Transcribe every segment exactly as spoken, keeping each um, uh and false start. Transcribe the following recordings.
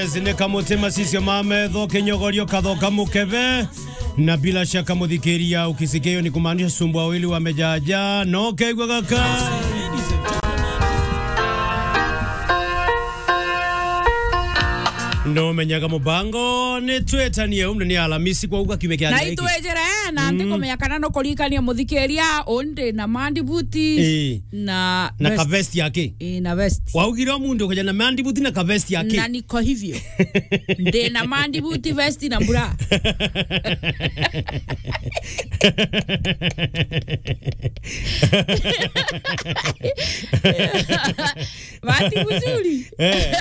Zine kamutima sisio mametho kinyogorio kathoka mukebe. Na bila shaka muthikiria ukisikia hiyo ni kumaanisha sumbua wili wamejaja. No kegwa gaka. No menyaga mubango ni twetanie umne ni Alamisi kwa uga kiumia kia Na itwejere, na ndi kumenya kana no kurikania muthikiria undi na mandibuti. Ii. Na Na vest. Ka vest yake. Ii, na vest. Waugire o mundu ukaja na mandibuti na ka vest yake. Na niko hivyo. Ndi na mandibuti, vest na bra. Bahati mzuri. Eh.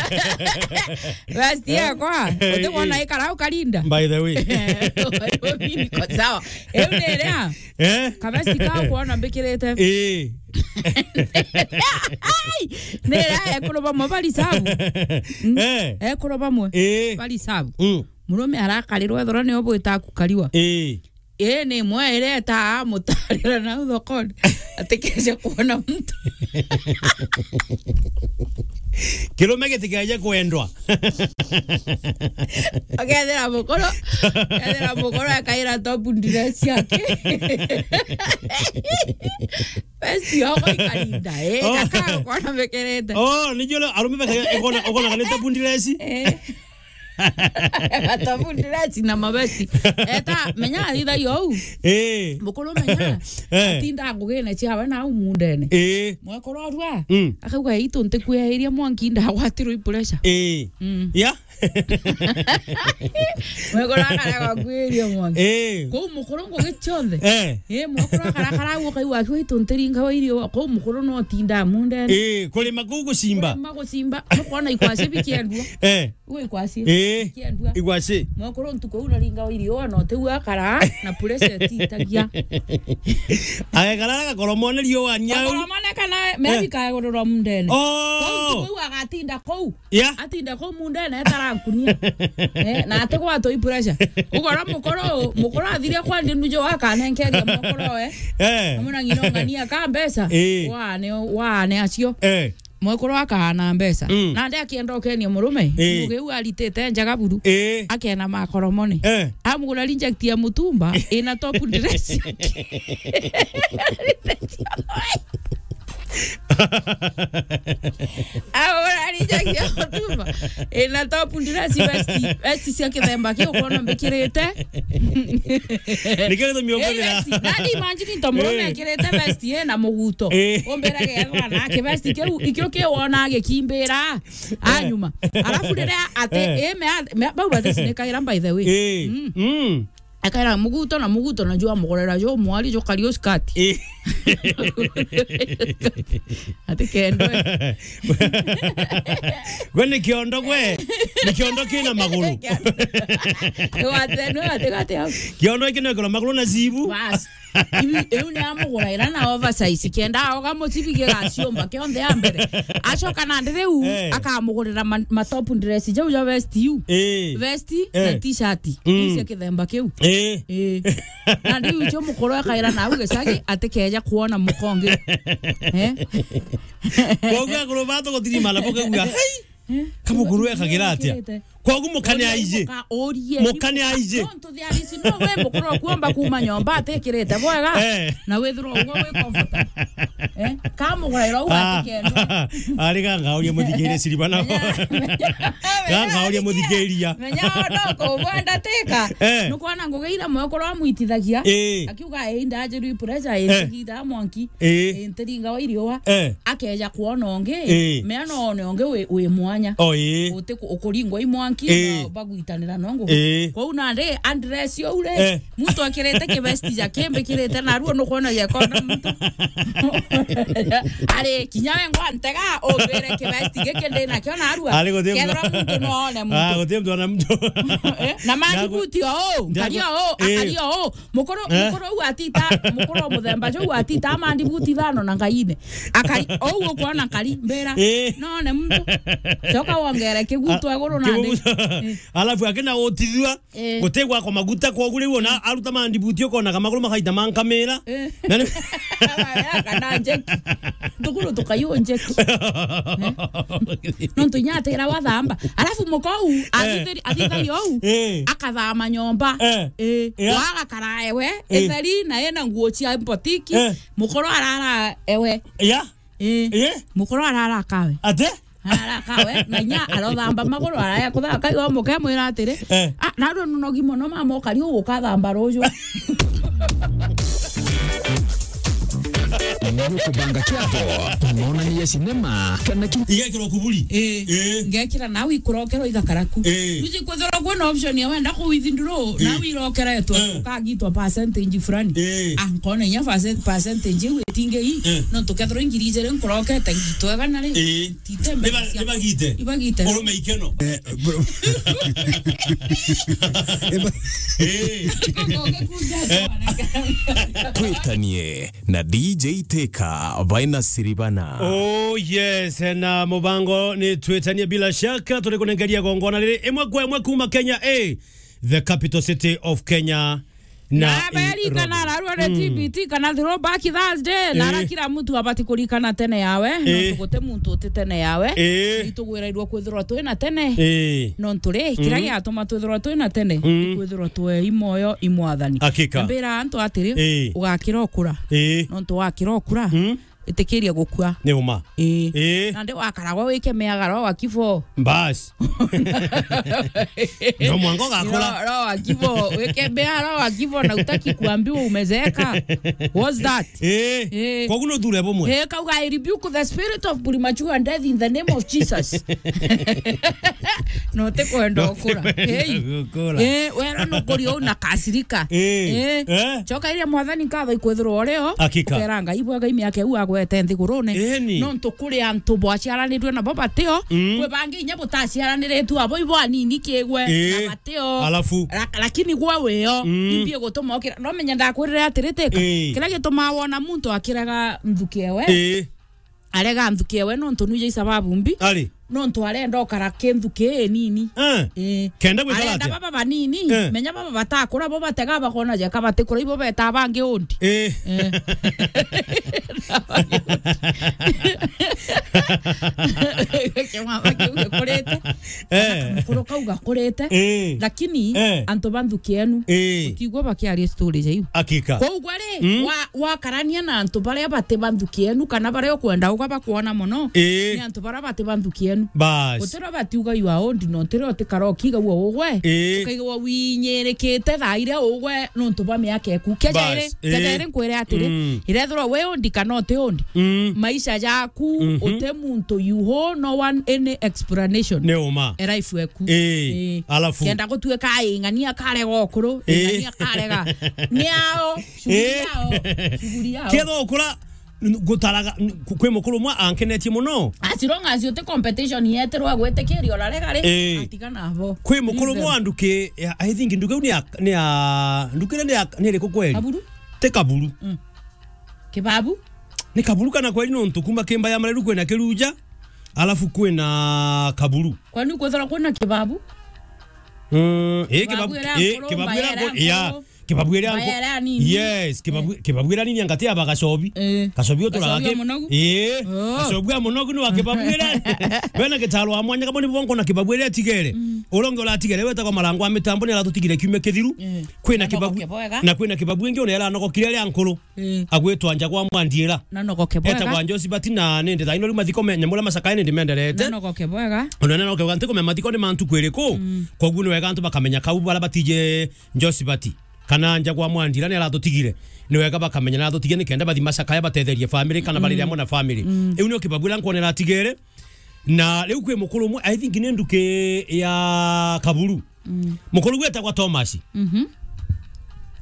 Vest yakwa. Eh, uti wona eh. Ikara ukarinda. By the way. Mimi niko sawa. Eu ni ria. Eh? Kavesti kau kwona mbikirite. Eh. Ai! Ni ria ekuru bamwe bari sabu. Mm. Eh. Ekuru bamwe. Eh. Bari sabu. Mm. Murume arakarirwa ethirwa nio bwita kukariwa. Eh. Eh, ni imwe iria etaa amutarira nau thokoni. Atikeje kwona muntu. Kirume gitikeje kwendwa. Akethira mukuru, akethira mukuru akaira top dress yake. Vest yoko ikarinda, eh, Oh. Gaka kwona mekerete. Oh, ni jole arume baka ikona, ikona kana top dress. Eh. Top dress na mavesti. Eta, menya athithagia uu. Eh. Mukuru menya. Eh. Atinda ngugine ciawe na au mundene. Eh. Mwekuru orua. Mm. Akauga, "Itu ntikwieheria mwanki ndagwatirwe i pressure." Eh. Mm. Ya? Mwekuru akarega kwiria mwanki. Eh. Kuu mukuru ngugi cionthe. Eh. Eh, mwekuru akarakara au ukaigua akiuga, "Itu ntiringa wa irio." Kuu mukuru no tinda mundene. Eh, kurima kuu gucimba. Kurima gucimba. Nukwona ikwasi bikiendua. Eh. Uwe ikwasi. Eh. Kiendua. Igwasi. Mwekuru ntuku uu naringa wa irio na utiu akara na pressure etitagia. Agekara agakoromone riua nyau. Agakoromone kana maybe Eh. Kagururwa mundene. Oh. Kuu ntuku uu agatinda kuu. Yeah. Atinda kuu mundene etarakunia. Eh, na atigwatwa i pressure. Ugora mukuru, mukuru athiria kwa ndi nujo akanenkeria mukuru we. Eh. Amuna ng'ina ung'ania ka mbeca. Eh. Wane, wane acio. Eh. Mwekuru akaana mbeca. Mm. Nandi akienda ukenia murume, Eh. ngugi u aritite njaga buru. Eh. Akena makoromone. Eh. Amugura reject ya mutumba, ina top dress. Amugura reject ya mutumba, ina top dress, vest, vest cia kithemba kiu ukwona mbikirite. Nikio gitumi Eh, ukwithira. Vest. Nandi imagine to murume Eh. ekirite vest ye na muguto. Eh. Umbira gethwa na kivesti kiu, ikio kiwona gikimbira. Eh. Anyuma. Alafu riria ati, Eh. eh, me, me, bau bati cinikaira, by the way. Eh. Mm. Mm. Akaira muguto na muguto na jwa mugorera jo mwari jo kario skati. Eh. Ati kendwe. Gwe ni kiondo gwe. Ni kiondo kina maguru. Ni wate, ni wate gati au. Kiondo iki no ikona maguru na zibu. Bas. Iu, iu ni amuguraira na oversize. Kenda aoga mucibi gigaciumba kionthe ya mbere. Acoka nandi riu Eh. akamugurira ma, ma top dress jau ja vest iu. Eh. Vest Eh. na t-shirt. Mm. Iu cia kithemba kiu. Eh. Eh. Nandi iu cio mukuru akaira na au gicagi atikeja kuona mukongi. Eh? Koguo akuru batu gutirimana bukauga, "Hei!" Eh? Kamukuru ekagira atia? Ekirite. Koguo mukane aije. Muka urie. Mukane aije. Don't do this. No, we mukuru kuomba kuuma nyomba atikirite bwega. Eh. Na withirwa uguo wi comfortable. Eh? Kamuguraira u Ah. atikendwa. Ari ga ngauria muthikirie siriba nao. Menya, menya, Ga ngauria muthikiria. Menya no kubwenda tika. Eh. Nukwona ngugi ira mwekuru amwitithagia. Eh. Akiuga, "Ei, ndajirwi pressure, Eh. ei, ntigita mwanki. Eh. Ei, ntiringa wa iriua." Eh. Akeja kwona ungi, Eh. mea no one ungi wi, wi mwanya. Oh, eh. Uti ku, ukuringwa i mwanki Eh. na bagwitanira no ngugi. Eh. Kwou nandi andress uu ri, Eh. muntu akirite kivesti ja kimbikirite narua nukwona gekona muntu. Ari kinya we ngwa ntega, umbire kivesti giki ndi nakio narua. Ari guti mtu. Kethira muntu no one muntu. Ah, guti mtu ona mtu. Eh, na mandibuti o, Njagu- kari o, Eh. akari o. Mukuru, Eh? Mukuru u atita, mukuru o muthemba ju atita mandibuti ithano na ngaine. Akari, ou ukwona kari, mbira. Eh. None muntu. Coka wongere kigutu Ah, iguru na kibugu- nthi. Alafu akina utithua, eh, gutegwa kwa maguta, kwa gure wona, mm, aruta mandibuti ukonaga maguru makaita mankamira. Eh. Na ni kana njeki. Tukuru tukayu njeki. Eh? Nontu inya atira wathamba. Alafu mukou, eh, athithiri-, athithagia ou, eh, akathama nyomba. Eh. Eh. Yeah. Waga karaewe, eh, itheri, na ena nguo cia botiki, eh, mukuru arara ewe. Yeah. Eh. Eh. Mukuru arara kawe. Ate? Arara kawe, na inya arothamba maguru, araya kuthaka iwa muke mwira atiri, eh, "Ah, narua nunogi mono mama, ukari ugukathamba ruju." Nigukubanga kiatho, monanie sinema, kana ki- Igekirwa kuburi. Eh. Eh. Ngekira nawe ikurokero igakaraku. Eh. Uji kwithirwa kwina option ya wenda kuwithinduru, eh, nawe irokeretwe, eh, ukagitwa percentage fulani. Eh. Ah, nkona inya percent-, percentage iu itingi ii, eh, nontu kethirwa ingiri ijiri nkurokete ngitwega na ri. Eh. Tite mbeca ciakwa. Ibagite. Ibagite. Urume ikeno. Eh, bro. Iba- Eh. Twitanie na D J Teka, Vaina Siribana. Oh, yes, na mubango ni twitanie bila shaka, turi kunengeria gongona riri imwe kwa imwe kuma Kenya, eh, the capital city of Kenya. Na na berikana Nairobi. Ararua ni, mm, T B T kana throwback Thursday, na, eh, ara kila mtu abati kurikana tene yawe, eh, nontu guti muntu uti tene yawe. Eh. Itugwirairwo kwithirwa twina tene. Eh. Nontu ri, kira, mm, giatuma twithirwa twina tene, mm, ni kwithirwa twe i moyo i Mwathani. Hakika. Na mbira antu atiri, eh, ugakira ukura. Eh. Nontu wakira ukura, mm, itikiria gukua. Ni uma. Ii. Ii. Nandi wakaragwa wikemeaga roho wa kifo. Bas. No mwango gakora. Roho, roho wa kifo, wikemea roho wa kifo na utaki kuambiwa umezeeka. What's that? Ii. Ii. Kwa guno thure bumwe. Ii, kauga, "I rebuke the spirit of premature death in the name of Jesus." No te kwenda ukura. Hey. Gukura. Ii, wera nukuri una kasirika. Ii. Ii. Eh? Choka iria Mwathani nkatho ikwithirwa urio. Hakika. Ukera Ngai bwega imiaka iu agwete nthigurune. Eni. Nontu kuri antu bwaciaranirwe nabo batio, mm, kwi bangi inya butaciaraniritwe abo ibo anini kigwe, ii, na batio. Alafu? La-, lakini gwe wio, mm, imbi gutuma ukira. No menya ndakwirire atiri Teka. Ii. Kiria gitumaa wona muntu akiraga nthuki ewe. Ii. Arega nthuki ewe nontu nuija isababu mbi. Ari? Nontu arenda ukara kinthu kii nini. Eh. Eh. Kenda gwikara atia? Arenda baba banini. Eh. Menya baba batakura bo batega bakona jeka batikura ibo beta bangi undi. Eh. Eh. Kimama kiu gikurite. Eh. Mukuru kau gakurite. Eh. Lakini, eh, antu ba nthuki enu, eh, utigwa bakiaria story ja iu. Hakika. Kwou gwa ri, mm, wa-, wakarania na antu baria bati ba nthuki enu, kana baria ukwenda uga bakwona mono, ii, ni antu baria bati ba nthuki enu. Bas. Utira batiuga you are old, na utira utikara ukiigagua ugwe. Ii. Ukaigagua winyirikite thaa iria ugwe nontu bwa miaka eku. Keja iri, bas, keja ii, iri nkwire atiri, mm, irethirwa wi old kana uti old, mm, maisha jaku, mhm, uti muntu you owe no one any explanation. Ni uma. E life eku. Ii. Ii. Alafu? Kenda gutuika ing'ania karega ukuru, ii, ing'ania karega. Ni ao. Shughuli, eh, yao. Shughuli yao. Ketho ukura, n-, gutaraga, n-, ku-, kwi mukuru umwe ankenetie muno. As long as uti competition yeterwa gwitikiria urarega ri, eh, atiga nabo. Kwi mukuru umwe wa nduki, ya, I think nduki iu ni ya, ni ya, nduki iria ni ya, ni iriku kweri? Kaburu? Ti Kaburu. Mm. Kibabu? Ni Kaburu kana kweri nontu kuma Kimba ya Mareru kwina Kiruja, alafu kwina Kaburu. Kwani kwithirwa kwina Kibabu? Mm, eh, Kibabu, Kibabu iria eh, nkuru, Kibabu iria nkuru, ya. Kibabu iria nko-, Mbaya iria nini? Yes, Kibabu, eh, Kibabu iria nini angati aba Gacobi. Eh. Gacobi uturaga Gacobi ki-, wa munogu? Eh. Oh. Gacobi wa munogu ni wa Kibabu iria. Bena gitaro wa mwanya kabo ni bonko na Kibabu iria atigere. Mm. Uronge uratigere wetagwa Marango wa Mitambo ni aratutigire kiumia kithiru. Eh. Kwina Kibabu, na kwina Kibabu ingi ona iranogokire iria nkuru. Eh. Agwitwa Njagwa Mwandiira. Na nogoke bwega. Etagwa Njosibati na nindi thaino riu mathiko me-, nyamura macakae nindi menderete. Na nogoke bwega. Ona na nogoke bwega, ntikumenya mathiko ni ma ntuku iriku. Mm. Koguo ni wega antu bakamenya kau bara batije Njosibati kana Njagwa Mwandira ni aratutigire. Ni wega bakamenya ni aratutigire nikenda bathi macakaya batetherie family kana, mm, barire amwe na family. Mm. Iu nio Kibabu iria nkwonera atigere. Na riu kwi mukuru umwe, I think ni nduki ya Kaburu. Mm. Mukuru gwetagwa Thomas. Mhm.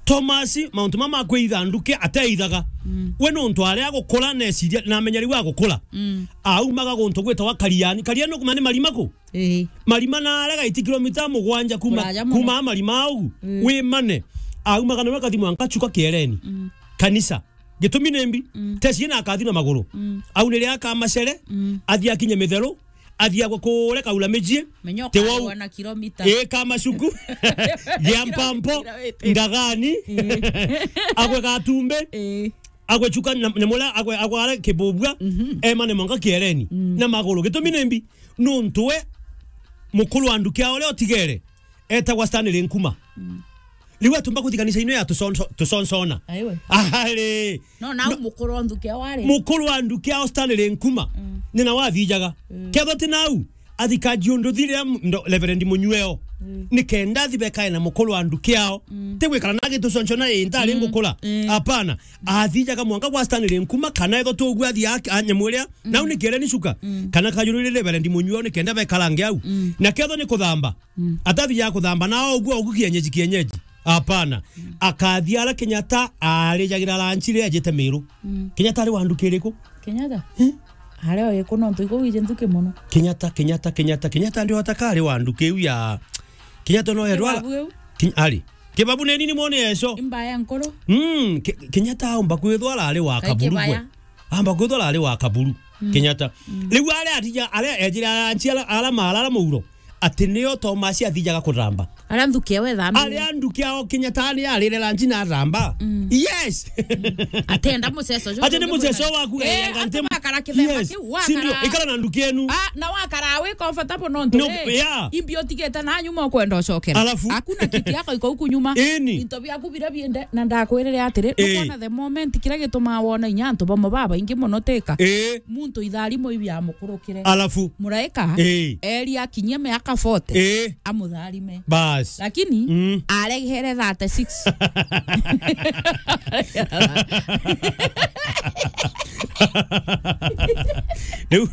Thomas, mauntu mama kwitha nduki ateithaga. Mm. We nontu aria agukura neciria, na amenya riu agukura. Mm. Aumaga guntu gwetagwa Kariani. Kariani nukumenya ni marima ku? Ii. Marima na arega iti kilomita mugwanja kuma, kuraja muno, kuma marima au, mm, wi mane. Aumaga nawe akathi mwanka Chuka Kiereni. Mm. Kanisa. Gitumi ni mbi, mm, teci na akathi na maguru. Mm. Au ni ria akamacere, mm, athi akinye Mitheru, athia gwe kuria Kaula Mijie. Menyo Te wau. Karuana kilomita. Ii, Kamacuku. Gia Mpampo. Ngagani. Ii. Agwe Gatumbi. Ii. Agwe Chuka na, na muria agwe, agwe aria Kibubua. Mhm. Emane mwanka Kiereni. Mm. Na maguru. Gitumi ni mbi. Nuntu we mukuru wa nduki yao uria utigere etagwa Stanley Nkuma. Mm. Riu atumba kuthi kanisa ino ya tusonso-, tusonsona. Aiwe. Ari. No, nau No. mukuru wa nduki yao ari. Mukuru wa nduki yao Stanley Nkuma. Mm. Ni na wathijaga. Mm. Kethwa ti nau, athikaji undu thiria m-, ndo-, Reverend Munyweo. Mm. Ni kenda athi bekae na mukuru wa nduki yao. Mm. Ti gwikara na agitusonsona ii ntari Mm. ngukura. Mm. Apana. Athijaga mwanka gwa Stanley Nkuma, kana ethwa tuguo athi a-, a nyamu iria. Mm. Nau ni Kiereni Chuka. Mm. Kana kajururire Reverend Munyweo ni kenda bekarange au. Mm. Na kethwa ni kuthamba. Mm. Atathiaga kuthamba na oguo, oguo kienyeji, kienyeji. Apana. Mm. Akathi ara Kenyatta arijagira lanchi riria ajite Miru. Mm. Kenyatta ari wa nduki iriku? Kenyatta? Hmm? Ari o iku nontu iku wiji nthuki muno. Kenyatta, Kenyatta, Kenyatta, Kenyatta ndio ataka ari wa nduki iu ya Kenyatta no erwa Kibabu iu? Ken-, ari. Kibabu ni nini mwone yeso? Imba ya nkuru? Mm, Ke-, Kenyatta aumba kwithwa ari wa Kaburu gwe. Kibaya. Amba kwithwa ari wa Kaburu, Mm. Kenyatta. Mm. Riu aria atija, aria ejire aranchi ala, ala mara, ala muuro, ati nio Thomas athijaga kuramba. Aria nthuki ewe thambi. Aria nduki ao Kenyatta ni arire ranchi na aramba. Mm. Yes. Mm. Atenda muceso jo. Ati ni muceso waku, Eh, eh, anga ati nti-, wakara kithemba Yes. kiu, Si ndio? wakara. Ikara na nduki enu. Ah, na wakara wi comfortable nontu No, ri, yeah. imbi utigite na nyuma ukwenda ucokera. Alafu? Hakuna kiti yako iko huku nyuma. Eni. Into biaku biria biende, na ndakwirire atiri, Eh. nukwona the moment kiria gitumaa wona inya antu bamwe babaingi muno tika. Eh. Muntu itharimo ibi amukurukire. Alafu? Muraika, Eh. eri akinyie miaka forty, Eh. amutharime. Bas. Lakini, Mm. aregere thirty-six. Riu.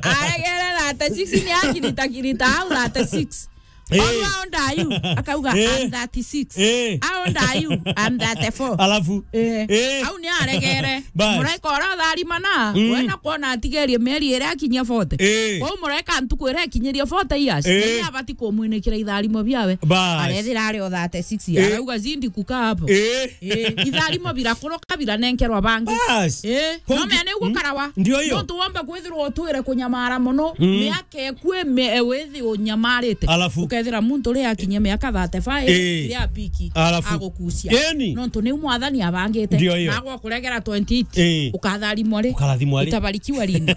Aregere thirty-six ni akirita kirita au thirty-six. Eh. How old are you? Akauga, Eh. "I'm thirty-six." Eh. "How old are you?" "I'm thirty-four." Alafu? Eh. Eh. Au ni aregere. Bas. Muraika uria utharimana, Mm. wena kwona atigerie mieri iri akinyia forty. Eh. Kwou muraika ntuku iria ikinyirie forty years, Eh. ni abati kumwinikira itharimo biawe. Bas. Arethira ari o thirty-six. Eh. Arauga, "Zindi kukaa hapo." Eh. Eh, itharimo birakuruka biranenkerwa bangi. Bas. Eh, Kwa no ki-, mea ni uguo mm, karawa. Ndio hiyo. Nontu womba kwithirwa utwire kunyamara muno, Mm. miaka eku ime-, e, withi unyamarite. Alafu? Ukethira muntu uri akinyia miaka thirty-five, Eh. ria piki, Alafu? agukucia. Eni. Nontu niu mwathani abangite. Ndio hiyo. Nagwa kuregera twenty-eight. Eh. Ukatharimwa ri? Ukarathimwa ri? Utabarikiwa lini?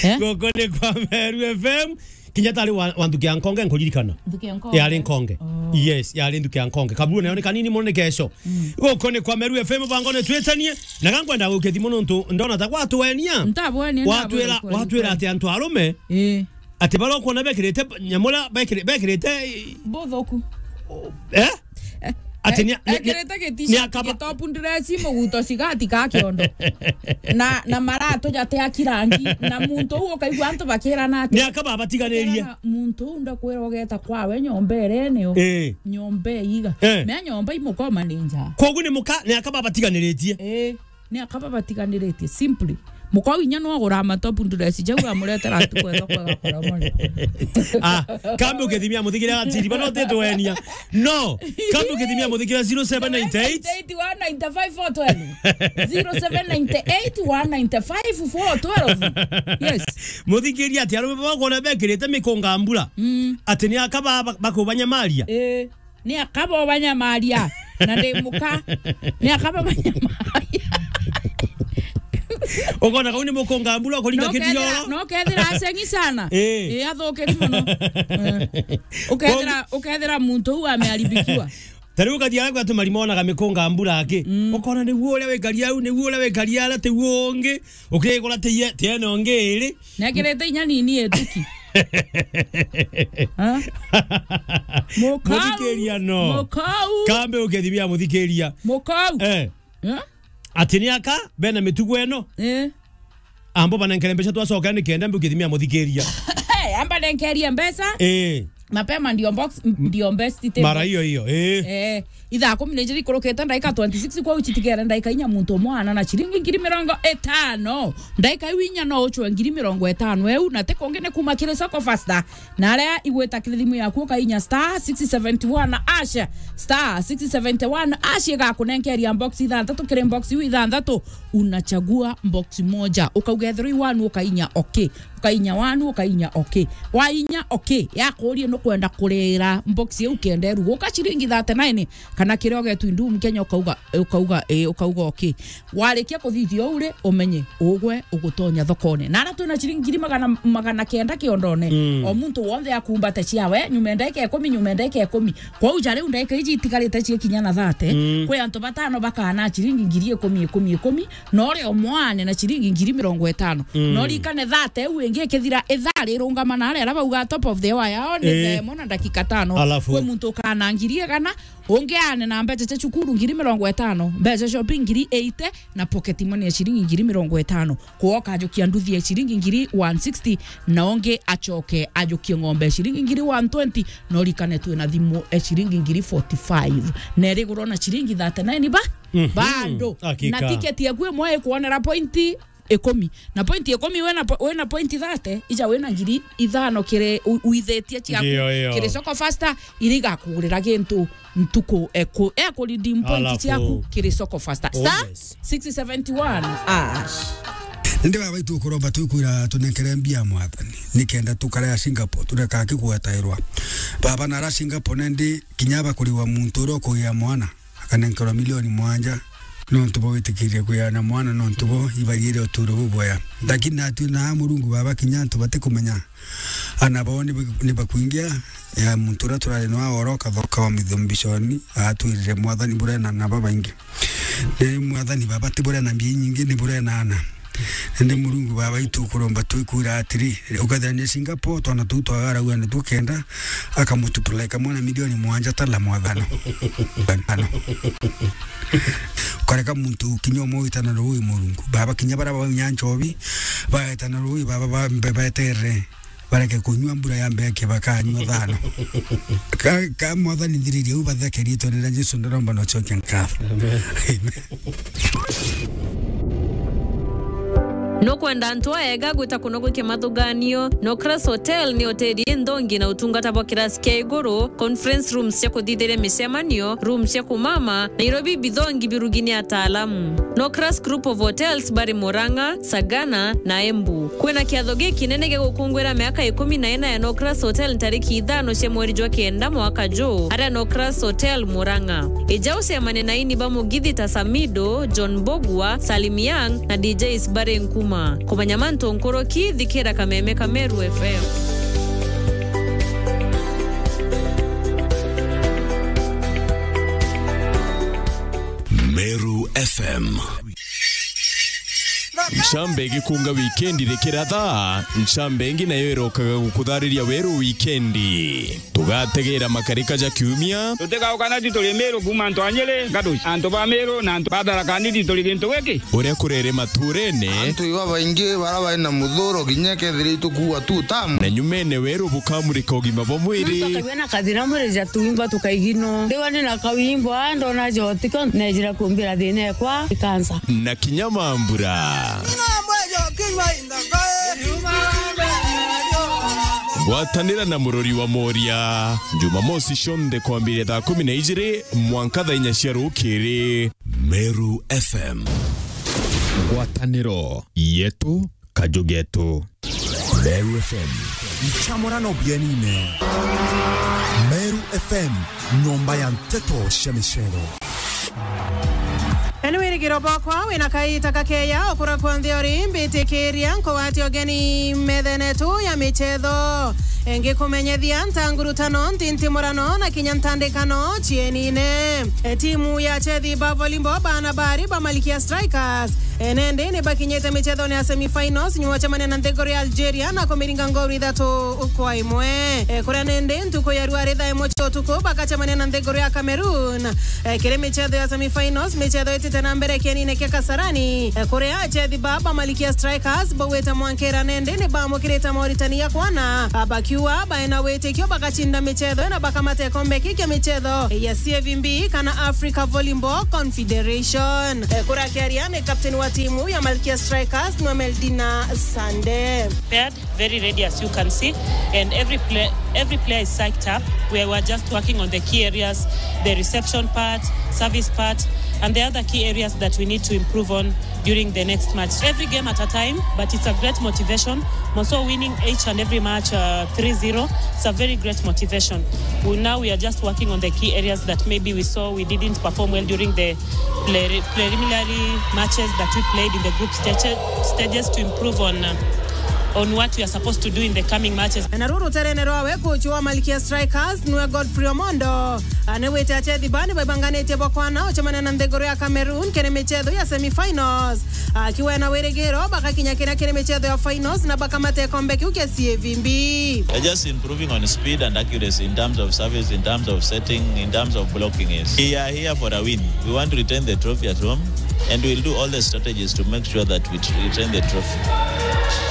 Eh? Goko ni kwa Meru F M. Kinya tari wa, wa nthuki ya nkonge nkuririkana. Nthuki ya nkonge? Yari nkonge. Oh. Yes, yari nthuki ya nkonge. Kaburu nayo ni kanini muno ni kesho. Mm. Guku ni kwa Meru F M bangone twitanie. Na gankwenda gukia thimu nontu ndona ta gwatwenia. Ntabwenia, Watwira, ntabwenia kweli, watwira kweli. Ati antu arume, Eh. ati baria ukwona bekirite nyamura, bekiri-, bekirite Buthuku. Eh? Ati ni, ni, ni, Ekirite gitishati, ni akaba- gitopu ndireci, muguto cigati ka kiondo. Na, na maratu jate akirangi. Na muntu uu ukaigua antu bakirana ati, Ni akaba abatiganiririe. Muntu uu ndakwira ugeta kwawe nyomba iri nio. Eh. Nyomba iga. Eh. Mea nyomba imukoma ni nja. Kogu ni muka, ni akaba abatiganiritie. Eh. Ni akaba batiganiritie, simply. Mukau inya no agura matopu nduresi jau amuretera ntuku ethwa kwega kora mone. Ah, kambe ukithimia muthikira atiri, bana utitwenia. No, kambe ukithimia muthikira zero seven nine eight. Eight one nine five four twelve. Zero seven nine eight one nine five four twelve. Yes. Muthikiria ati arume baba kwona bekirite mikunga mbura. Mm. Ati ni akaba ba-, bakubanyamaria. Eh. Ni akaba obanyamaria, na ndi muka. Ni akaba obanyamaria. Ukona kau ni mukunga mbura ukuringa No kethira, kitioro. No kethira aceng'i sana. Eh. Eh, athukiri muno. Eh. Ukethira, Kwa- ukethira muntu uu amearibikiwa. Ta riu ukathia aria kwatu marima onaga mikunga mbura aki. Mm. Ukona niguo uria wikaria au, niguo uria wikaria aria, tiguo ungi. Ukigura tiye, tiene ungi iri. Nekirite inya nini ituki. Ha? Mukau. Muthikiria no. Mukau. Kambe ukethimia muthikiria. Mukau. Eh. Eh? Ati ni aka, bena mitugo eno. Eh. Ambo banenkere mbeca twacoka ni kenda mbe ukithimia muthikiria. Eh, amba nenkerie mbeca. Eh. Mapema ndio box, ndio best table. Mara hiyo hiyo, eh. Eh, ithaa kumi na ijiri ikurukite, ndaika twenty-six, kwou citigere ndaika inya, muntu umwe ana na ciringi ngiri mirongo itano. Ndaika iu inya no uchwe ngiri mirongo itano eu, na ti kungi ni kuma kiri Soko Fasta. Na aria igwita kiri thimu yaku ukainya star six seventy one hash, star six seventy one hash igakunenkeria box ithanthatu, kiri box iu ithanthatu, unachagua box moja. Ukauga ethirwa i one ukainya okay. Ukainya one, ukainya okay. Wainya okay, yakurie nukwenda kurira box iu kenda iruguka ciringi thirty-nine, kana kiria ugetwi ndum Kenya, ukauga, ukauga, eh, ukauga okay. Warikia kuthithia uu ri, umenye ugwe ugutonya thokone. Na aria twina ciringi ngiri magana, magana kenda kiondone, mm, o muntu wonthe akumbate ciawe, nyuma ndaika ikumi, nyuma ndaika ikumi. Kwou ja riu ndaika iji itigarite ciekinya na thirty, mm, kwi antu batano bakana ciringi ngiri ikumi, ikumi, ikumi, na uria umwe ane na ciringi ngiri mirongo itano. Mm. Na urikane thirty iu ingi ikithira, ithaa rirungama na aria, aria bauga top of the hour yao ni, eh, thaa imwe na ndagika tano. Alafu? Kwi muntu ukana ngiri igana, ungi ane na mbeca cia cukuru ngiri mirongo itano, mbeca cia shopping ngiri eighty, na pocket money ya ciringi ngiri mirongo itano. Kwou ukajukia nduthi ya ciringi ngiri one sixty, na ungi acoke ajukie ng'ombe ya ciringi ngiri one twenty, na urikane twina thimu ya ciringi ngiri forty-five. Na irigurwa na ciringi thirty-nine ba? Mhm. Bado. Hakika. Na tiketi yaku imwe ikwonera pointi ikumi. Na pointi ikumi wina po-, wina pointi thirty, ija wina ngiri ithano kiri u-, uithitie ciaku. Ndio, ndio. Kiri Soko Fasta, iria igakugurira gintu ntuku eku-, eku redeem point. Alafu, ciaku kiri Soko Fasta. Oh, star, yes, six seventy one hash. Ndi baba itu kuromba twikwira tunenkere mbia Mwathani, nikenda tukare a Singapore, tureka kigwatairwa. Baba, nara Singapore nendi kinya bakuriwa muntu uria ukugia mwana akanenkerwa milioni mwanja, nontu bwa gwitikiria kwiana mwana, nontu bo ibarire uturo bubwea. Lakini natwi na Murungu baba, kinya antu batikumenya, ana bao ni ba-, ni bakwingia, ya muntu uria turari nwa oro kathoka wa mithumbishoni, atwirire, Mwathani, burena na babaingi. Ni Mwathani baba, ti burena mbia inyingi, ni burena ana. Indi Murungu baba itu kuromba twikwira atiri, ukethira ni Singapore, twana tuu twagaragua ni tukenda, akamutupuleka mwana milioni mwanja tala mwathano. Ukareka muntu kinya umwe witana rui Murungu. Baba, kinya bara baunya nchobi, baetana rui, baba, ba-, be-, beterere. Bareke kunyua mbura ya mbeke, bakanyua thano. Ka, ka Mwathani nthiririe u bathekerie, ritwa ria Jesu ndaromba na ucokia nkatho. Amen. Amen. Nukwenda antu aega gwita kuno gwikia mathuganio? Nocras Hotel ni hoteli inthongi na utungata bwa kirasi kia iguru, conference rooms cia kuthithiria micemanio, rooms cia kumama, Nairobi bithongi birugi ni ataalamu. Nocras Group of Hotels bari Murang'a, Sagana na Embu. Kwina kiatho gikinene gia gukungwira miaka ikumi na ina ya Nocras Hotel ntariki ithano cia mweri jwa kenda mwaka juu, aria Nocras Hotel Murang'a. Ija ucemane na aini ba mugithi ta Samido, John Mbugua, Salim Young na D Js bari Nkuma. Kumenya mantu nkuruki, thikira Kameme ka Meru F M. Meru F M. Ncambe igikunga wikendi rikiratha, ncambe ingi nayo irokaga gukuthariria weru wikendi. Tugategera makarika ja kiumia. Tutigauka na ti turi Meru kuuma antu a Nyeri, Gaduci, antu ba Meru na antu ba Tharaka Nithi turi gintu giki. Uria kurere maturene. Antu iba baingi bara bari na muthuro kinya kethira itukuua tu tamu. Na nyumene weru bukamurika ugima bwa mwiri. Nontu akagua na kathina mwiri ja tuimba tukaigino. Ndiwa ni na kawimbo, a, ndona jotiko, nejira kumbira thina ekwa ikansa. Na kinya mambura. Ngwatanira na Murori wa Moria, Jumamosi cionthe kwambiria thaa kumi na ijiri mwanka thaa inya cia rukiri. Meru F M. Ngwataniro yetu, kaju getu. Meru F M. Ncamurano bienine. Meru F M, nyomba ya nteto cia micero. Na ni wirigiro bwakwa wina kaita kakeya ukura kwonthe uri, mbitikiria nkugwatia ugeni methene tu ya michetho. Ngikumenyethia nta ngurutano, ntintimurano na kinya ntandikano cienine. E, timu ya chethi ba volleyball bana bari ba Malikia Strikers, e, nendi ni bakinyite michethone ya semifinals nyuma cemania na nthiguru ya Algeria na kumiringa ngooru ithatu kwa imwe. E, kuria nendi ntuku ya rua ri thaa imwe cia utuku bakacemania na nthiguru ya Cameroon. E, kiri michetho ya semifinals, michetho itite na mbere kienine kia Kasarani, e, kuria chethi ba ba Malikia Strikers bauite mwankira nendi ni bamukirite moritani ya kwana, a, bakiu Wa baena witikio bagacinda michetho na bakamata ikombe ki kia michetho ya C F B kana Africa Volleyball Confederation. Eh, kurakiaria ni captain wa timu ya Malkia Strikers, Noemeldina Sande. Prepared, very ready, as you can see, and every play, every player is psyched up. We were just working on the key areas, the reception part, service part, and the other key areas that we need to improve on during the next match. Every game at a time, but it's a great motivation. Moso winning each and every match, uh, three zero, it's a very great motivation. We, now we are just working on the key areas that maybe we saw we didn't perform well during the pre-, preliminary matches that we played in the group stage, stages to improve on, uh, on what we are supposed to do in the coming matches. Na ruru ruterene rwawe, coach wa Malkia Strikers niwe Godfrey Omondo. Anewete achethi bani baibanganitie bwa kwana ucemania na nthiguru ya Cameroon kiri michetho ya semi-finals. Akiwa na wirigiro bagakinya kinya kiri michetho ya finals na bakamata ikombe kiu kia C F B. They're just improving on speed and accuracy in terms of service, in terms of setting, in terms of blocking. Is we are here for a win. We want to retain the trophy at home, and we'll do all the strategies to make sure that we retain the trophy.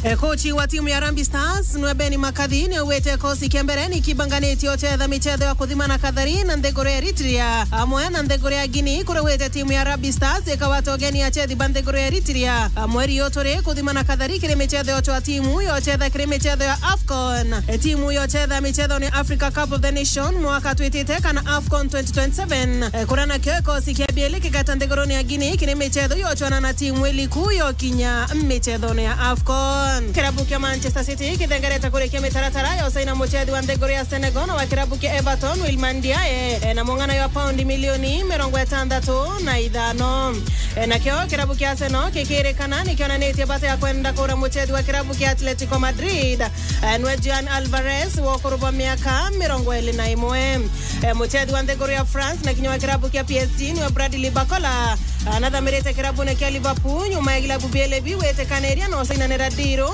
E, kochi wa timu ya Harambee Stars niwe Ben Makathi niaugite kosi kia mbere ni kibanganitie uchetha michetho ya kuthima na kathari na nthiguru ya Eritrea amwe na nthiguru ya Guinea, kuria gwite timu ya Harambee Stars ikawata ugeni achethi ba nthiguru ya Eritrea. Amwe rio turi kuthima na kathari kiri michetho ya uchwa timu ya uchetha kiri michetho ya AFCON. E, timu ya uchetha michetho ni Africa Cup of the Nation mwaka twitite kana AFCON twenty twenty-seven. E, kuria nakio ikosi kia bieli kigata nthiguruni ya Guinea kiri michetho ya uchwana na timu iliku yo kinya michetho ya AFCON. Kirabu kia Manchester City kithengerete kurikia mitaratara ya usaina muchethi wa nthiguru ya Senegal na wa kirabu kia Everton, Iliman Ndiaye, e, na mung'ana ya paundi milioni mirongo itantatu na ithano. E, nakio kirabu kia Arsenal kikirikana nikionanitie bata ya kwenda kura muchethi wa kirabu kia Atletico Madrid, e, nwe Julian Alvarez wa ukuru bwa miaka mirongo iri na imwe. E, muchethi wa nthiguru ya France na kinya wa kirabu kia P S G nwe Bradley Barcola, e, anathamirite kirabune kia Liverpool nyuma ya kilabu bieli biu gwitikaniria na usainanira ndiru